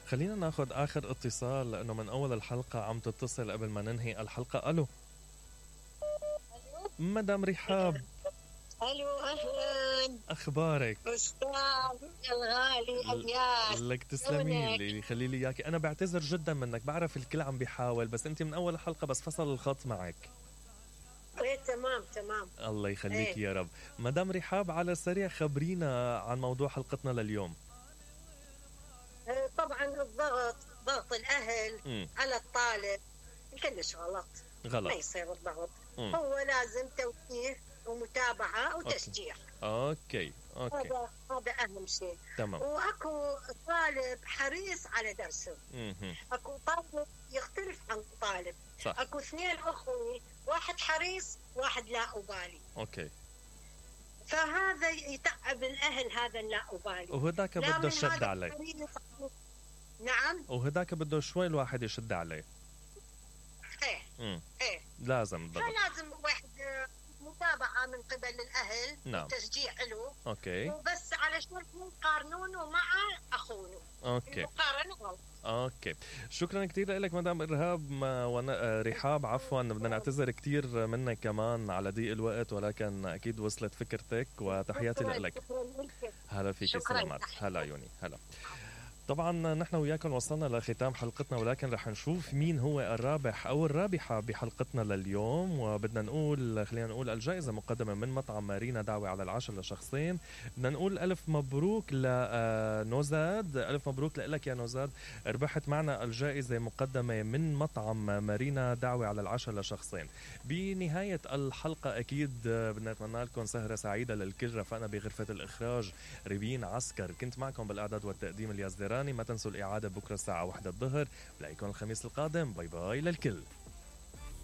خلينا ناخد آخر اتصال لأنه من أول الحلقة عم تتصل قبل ما ننهي الحلقة. ألو مدام رحاب. الو اهلا، اخبارك؟ استاذ الغالي الياس. لك تسلمي لي، خلي لي اياكي. انا بعتذر جدا منك، بعرف الكل عم بيحاول، بس انت من اول الحلقه بس فصل الخط معك. ايه تمام. الله يخليك يا رب. مدام رحاب، على السريع خبرينا عن موضوع حلقتنا لليوم. طبعا ضغط الاهل على الطالب كلش غلط. ما يصير الضغط. هو لازم توجيه ومتابعة وتشجيع. اوكي. هذا اهم شيء. تمام. واكو طالب حريص على درسه. اكو طالب يختلف عن طالب. صح. اكو اثنين اخوي، واحد حريص واحد لا أبالي. اوكي. فهذا يتعب الاهل، هذا لا أبالي، وهداك بده يشد عليه. نعم. وهداك بده شوي الواحد يشد عليه. ايه لازم ضغط. فلازم واحد متابعة من قبل الأهل. نعم. تشجيع له. اوكي. وبس علشان يقارنونه مع أخونه. اوكي. المقارنة غلط. اوكي، شكرا كثير لك مدام رحاب. عفوا، بدنا نعتذر كثير منك كمان على ضيق الوقت، ولكن اكيد وصلت فكرتك، وتحياتي لك. هلا فيك، سلامات. هلا عيوني، هلا. طبعا نحن وياكم وصلنا لختام حلقتنا، ولكن رح نشوف مين هو الرابح او الرابحة بحلقتنا لليوم. وبدنا نقول، خلينا نقول الجائزة مقدمة من مطعم مارينا دعوة على العشاء لشخصين. بدنا نقول ألف مبروك لنوزاد، ألف مبروك لك يا نوزاد، ربحت معنا الجائزة مقدمة من مطعم مارينا دعوة على العشاء لشخصين. بنهاية الحلقة أكيد بدنا نتمنى لكم سهرة سعيدة للكل. رفقنا بغرفة الإخراج ريبين عسكر، كنت معكم بالإعداد والتقديم الياس. ما تنسوا الإعادة بكرة الساعة 1 الظهر. بلاقيكم الخميس القادم. باي باي للكل.